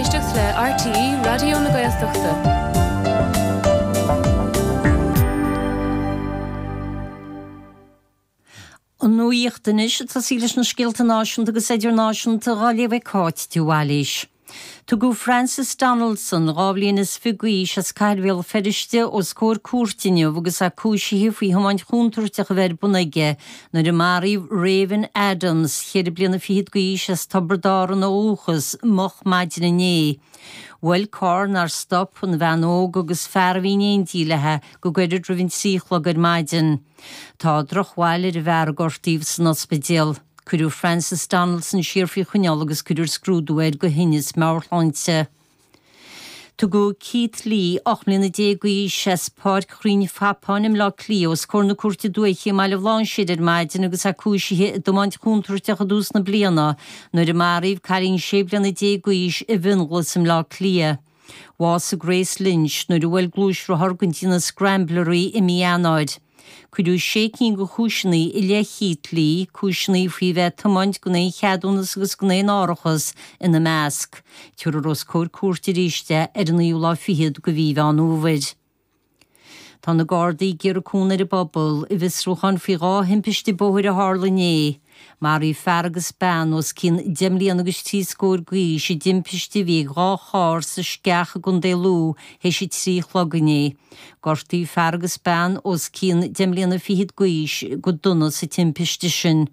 éisteacht le RTÉ Raidió na Gaeltachta. An nuacht anois, ag tosaí leis na scéalta náisiúnta agus idirnáisiúnta dhá léamh ag Cáit de Bhailís. Tugadh Francis Donaldson, 22 bhliain d'aois, as Cathair Bhéal Feirste os comhair cúirte inniu agus é cúisithe faoi thiomáint chontúirteach a bheith ar bun aige nuair a maraíodh Raven Adams, cheithre bliana fichead d'aois, as Tiobraid Árann ó dhúchas, moch maidin inné. Bhuail carr nár stop, an bhean óg agus fear a bhí in éindí léi go gairid roimh an 3 a chlog ar maidin. Tá drochbhail ar an bhfear a gortaíodh san ospidéal. Cuireadh Francis Donaldson siar faoi choinneáil agus cuirfear scrúdú air do thinneas meabhairshláinte. Tugadh Keith Lee, 18 mbliana d'aois, as Páirc Chrainn Phapáin i mBleá Cliath os comhair na Cúirte Dúiche i mBaile Bhlainséir ar maidin agus é cúisithe i dtiomáint chontúirteach i dtús na bliana nuair a maraíodh cailín 16 bliana d'aois i bhFionnghlas i mBleá Cliath. Bhásaigh Grace Lynch nuair a bhuail gluaisrothar den déanamh Scrambler í i mí Eanáir. Cuireadh sé cinn de chúiseanna i leith Keith Lee, cúiseanna faoi bheith ag tiomáint gan aon cheadúnas agus gan aon árachas ina measc. Tabharfar os comhair cúirte arís é ar an naoú lá fichead de mhí Mheán Fhómhair. Tá na Gardaí ag iarraidh cúnamh ar an bpobal i bhfiosrúchán faoi dhá thimpiste bóthair a tharla inné. Maraíodh fear agus bean os cionn deich mbliana agus trí scór d'aois i dtimpiste a bhí ag dhá charr sa Sceach i gContae Lú théis a 3 a chlog inné. Gortaíodh fear agus bean os cionn deich mbliana fichead d'aois go dona sa timpiste sin.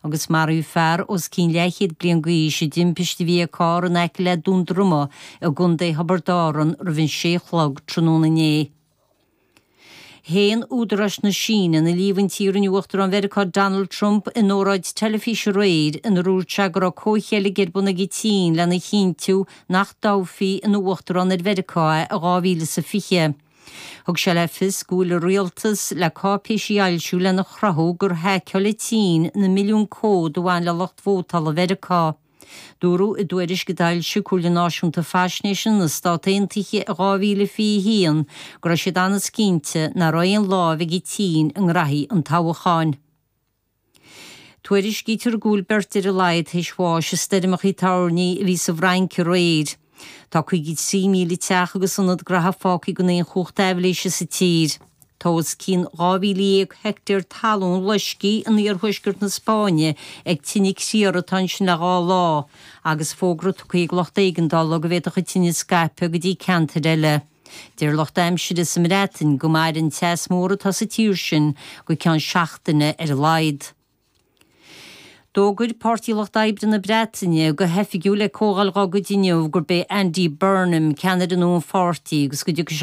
Agus maraíodh fear os cionn leathchéad bliain d'aois i dtimpiste a bhí ag carr in aice le Dún Droma i gContae Thiobraid Árann roimh an sé a chlog tráthnóna inné. Shéan údaráis na Síne na líomhaintí a rinne Uachtarán Mheiriceá Donald Trump in óráid teilifíse aréir inar dhúirt sé go raibh comhcheilg ar bun ag an tSín lena chinntiú nach dtoghfaí ina Uachtarán ar Mheiriceá é i 2020. Thug sé le fios go bhfuil a rialtas le cáipéisí a fhoilsiú lena chruthú gur haiceáil an tSín na milliúin comhad a bhain le lucht vótála Mheiriceá. Dúradh i dtuairisc a d'fhoilsigh Comhairle Náisiúnta Faisnéise na Stát Aontaithe i 2021 go raibh siad an-cinnte nach raibh aon lámh ag an tSín i ngraithí an toghcháin. Tuairiscítear go bhfuil beirt ar a laghad théis bháis i stoirmeacha toirní a bhí sa bhFrainc aréir. Tá 53,000 teach agus ionad graithe fágtha gan aon chumhacht aibhléise sa tír. Tá os cionn 12,000 heicteár talún loiscthe in iarthuaisceart na Spáinne ag tine criathair atá ansin le dhá lá, agus fógra tugtha ag lucht éigeandála go bhféadfadh an tine scaipeadh go dtí ceantair eile. Deir lucht aimsire sa mBreatain go mairfidh an teas mór atá sa tír sin go ceann seachtaine ar a laghad. D'fhógair Páirtí Lucht Oibre na Breataine go hoifigiúil ag comhdháil dá gcuid inniu gurb é Andy Burnham ceannaire nua an pháirtí agus go dtiocfaidh sé.